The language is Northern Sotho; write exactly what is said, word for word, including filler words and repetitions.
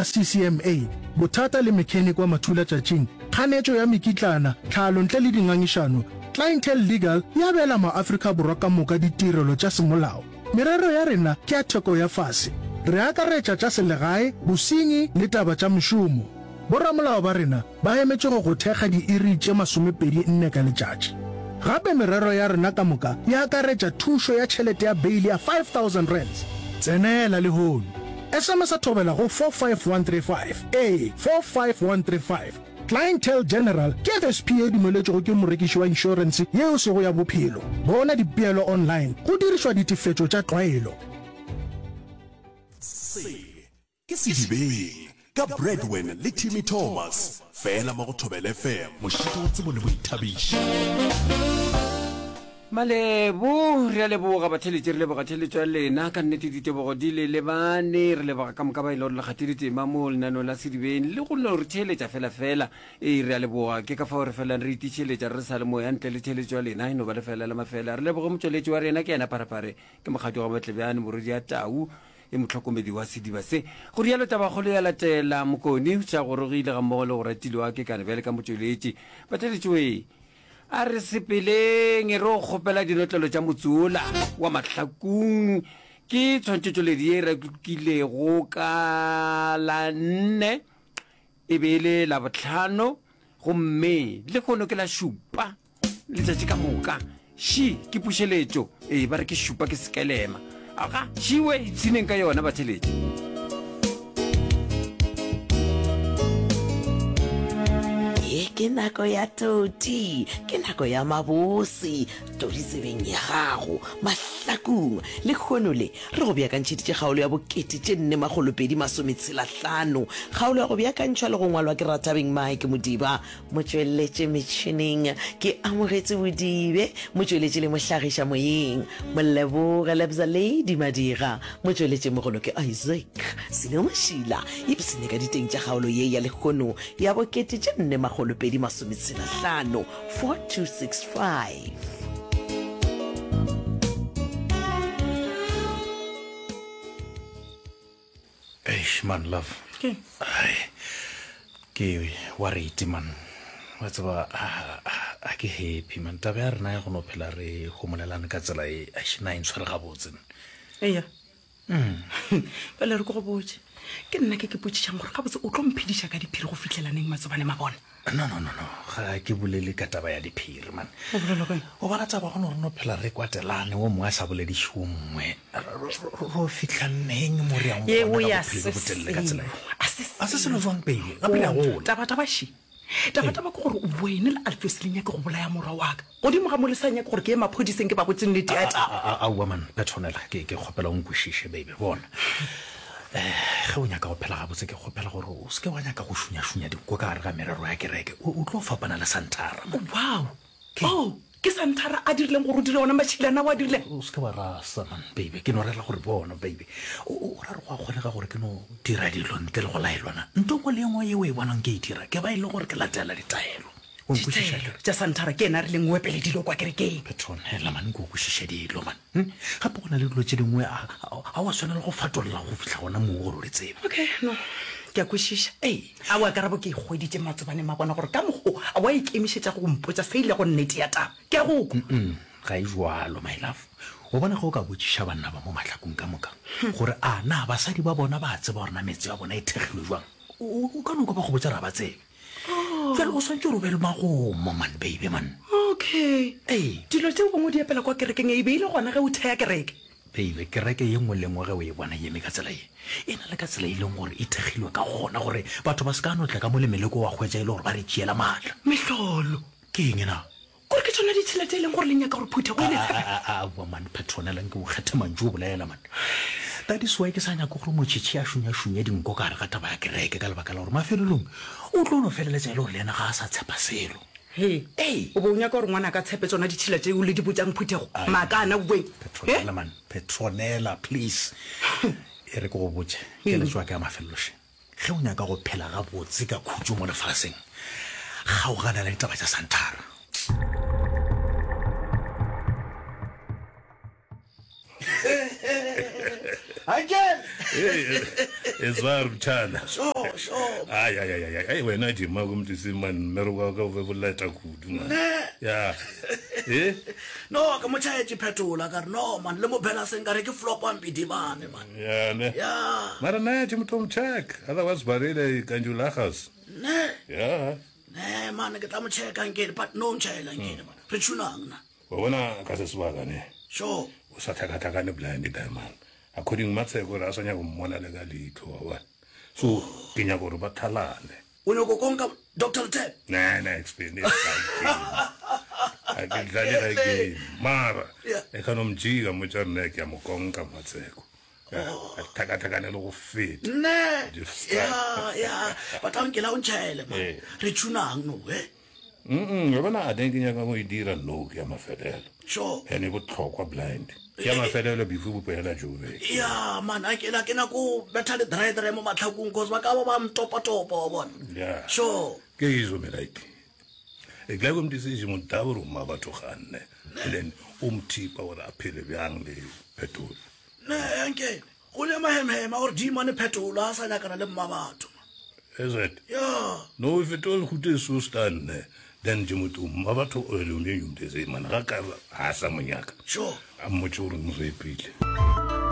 C C M A, bothata le mechanic wa mathulatšatšing, kganetšo ya mekitlana, tlhalo ntle le dingangišano, Clientele Legal e abela maAfrika Borwa ka moka ditirelo tša semolao. Merero ya rena ke ya theko ya fase. Re akaretša tša selegae, bosenyi le taba tša mešomo. Boramolao ba rena ba emetše go go thekga diiri tše masomepedi nne ka letšatši. Gape merero ya rena ka moka e akaretša thušo ya tšhelete ya beile ya five thousand rands. Tsenela lehono. S M S Thobela go four five one three five. Ee, four five one three five. Clientele General ke F S P ye e dumeletšwego ke morekiši wa inšorense yeo e sego ya bophelo. Bona dipeelo online go dirišwa ditefetšo tša tlwaelo. Se ke Sedibeng ka Bradwin le Timmy Thomas, fela mo go Thobela F M, mošito wa tsebo le boithabišo. Malebo, re a leboga batheeletši, re leboga theeletšo ya lena, ka nnete ditebogo di le lebane, re leboga ka moka ba e le gore le kgathile tema mo lenaneong la Sedibeng le go no re theeletša fela fela, ee re a leboga, ke ka fao re felang re itišeletša re sa le moya ntle le theeletšo ya lena e no ba lefela la mafela. Re leboge motšweletši wa rena ke yena Pharephare, ke mokgadi wa Matlebjane, morwedi ya Tau, e mohlokomedi wa sediba se. Go rialo tabakgolo ya latela, Mokoni o sa gorogile gammogo le go ratilwa ke kana bjale ka motšweletši. Batheeletši wee! A re sepeleng re o kgopela dinotlelo tša motse wola wa Mahlakung. Ke tshwantšhetšoledi ye e rekilego ka la nne, e be e le Labohlano, gomme lehono ke la šupa letšatši ka moka. Ši ke pušeletšo, ee, ba re ke šupa ke sekelema. Aga, šiwe, ipshineng ka yona batheletši. Ye ke nako ya toti, ke nako ya mabose, todi tsebeng ya gago, mahlakung. Lehono le, re go beakantšheditše kgaolo ya bokete tše nne makgolo pedi masome tshela hlano. Kgaolo ya go beakantšhwa le go ngwalwa ke Rathabeng Mike Modiba, Motšweletše metšhineng ke Amogetše Bodibe, motšweletši le mohlagiša moyeng Moleboge Lebza Lady Madira, motšweletši mogolo ke Isaac Sino Mašila. Ipshine ka diteng tša kgaolo ye ya lehono ya bokete tše nne makgolo pedi masome tshela hlano, four two six five. Eish man love. Ke? Ai. Ke worried man. Wa tseba a ke happy man. Taba ya rena ya go no phela re homolelane ka tsela e eish na e ntshwere gabotse. Eya. Bjale re ke go botše. Ke nna ke ke potšišang gore gabotse o tlo mphediša ka diphiri go fihlela neng Matsobane Mabona? No no no no, ga ke bolele ka taba ya diphiri man. O bolela ka eng? O bona taba go no re no phela re kwatelane wo mongwe a sa bolediše wo mongwe. Ro fihla neng mo re yang Yeo gona ka ya bophelo se bjo botelele ka tsela ye? selo. A se A se selo selo. jwang baby? Gape re a Bona, gola. taba taba še. Taba taba ke gore wene le Alfios le nyake go bolaya morwa wa ka. Godimo ga mo le sa nyake gore ke ye maphodiseng ke ba botše nnete ya taba. Aowa man, Petronella, ke ke kgopela o nkwešiše baby. Bona, ge o nyaka go phela gabotse ke kgopela gore o se ke wa nyaka go šunyašunya dinko ka gare ga merero ya kereke. O o tlo fapana le Santhara man. Wow! Oh, ke Santhara a dirileng gore o dire ona mašilana ao a dirileng? O se ke wa rasa man baby, ke no rera gore bona baby, o o ra re go a kgonega gore ke no dira dilo ntle le go laelwa na? Nto nngwe le ye nngwe ye o e bonang ke e dira, ke ba e le gore ke latela ditaelo. O nkwešiša Ditaelo akere? tša Santhara ke yena a rileng o epele dilo kwa kerekeng. Petronella man, nke o kwešiše dilo man. Hm? Gape go na le dilo tše dingwe a a wa swanela go fatolla go fihla gona moo gore o di tsebe. Okay, no, ke a kwešiša. Ee. Aowa, karabo ke e hweditše Matsobane Mabona gore ka mokgo a wa ikemišetša go mpotša se e lego nnete ya taba. Ke a go kwa. Mm, ga e bjalo, my love. O bona ge o ka botšiša banna ba mo mahlakong ka moka gore a na basadi ba bona ba a tseba gore na metse ya bona e thekgilwe bjang, o, o ka no kwa ba go botša gore ga ba tsebe. Bjale o swanetše gore o be le magomo man, baby man. Okay. Ee. Dilo tšeo gongwe di epela kwa kerekeng e be e le gona ge o thea kereke. Baby, kereke ye nngwe le nngwe ge o e bona e eme ka tsela ye, e na le ka tsela e leng gore e thekgilwe ka gona gore batho ba se ka no tla ka mo le meleko wa hwetša e le gore ba re tšeela maatla. Mehlolo. Ke eng na? Kore ke tšona ditšhila tše e leng gore le nyaka gore phuthego e le tshepe? Aowa man, Petronella, nke o kgethe mantšu o bolela man. That is why ke sa nyake gore Motšhitšhi a šunyašunye dinko ka gare ga taba ya kereke ka lebaka la gore mafelelong o tlo no feleletša e le gore le yena ga a sa tshepa selo. Hee, Ei! o be o nyaka gore ngwanaka a tshepe tšona ditšhila tšeo le di botšang phuthego? Ai, Maaka ana uweng! He? Petronella man, Petronella, please. E re ke go botše, keletšo ya ka ya mafelelo še. Ge o nyaka go phela gabotse ka khutšo mo lefaseng, kgaogana le ditaba tša Santhara. Uncle! It's ba ruthana. Sure, sure. Ai ai ai ai ai wena Jima go mtse man mmereko wa ka o be boleta kudu man. Ne. Ya. Eh? No, ke mo tšhaetše phetola ka re no man le mo phela seng ka re ke flop a mpidibane man. Ya ne. Ya. Mara na Jim tom check. Otherwise barele kanjulagas. Ne. Ya. Ne man ke tla mo checka nkene but no ntšhaela nkene man. Re tshunang na. Wa bona ka se sebaka ne. Sure. O sa tlhakatlhakane blind diamond. According Matsheko re a sa nyaka go mmona le ka leitlho wa bona. So ke nyaka gore ba thalane. O nyako konka Doctor Letebe? Ne ne explain it. A ke dlale ga game. Mara Yeah. e ka no mjika mo tša nna ke a mo konka Matsheko. A tlhakatlhakane le go feta. Ne. Just- Ya, ya. But a nkela o ntšhaele man. Eh. Re tshunang no, eh? Mm, wa bona a teng ke nyaka go e dira no ke ya mafelelo. Sure. Ene e botlhokwa blind. Ke ya mafelelo before bopoela Joburg. Ya man, a ke la ke nako betha le dry dry mo matlhakong cause ba ka ba ba mtopa-topa wa bona. Yeah. Sure. Ke izo melaiti. E tla go mtse mo dabro ma batho ganne. And then o mthipa gore a phele bjang le phetolo. Ne, nkene. Go le mahemhema gore dimane phetolo a sa nyakana le mma batho. Is it? Ya. No if it all go so stand then je motho ma batho o le o mtse man ga ka ha sa monyaka. Sure. A mmotse gore mo repile.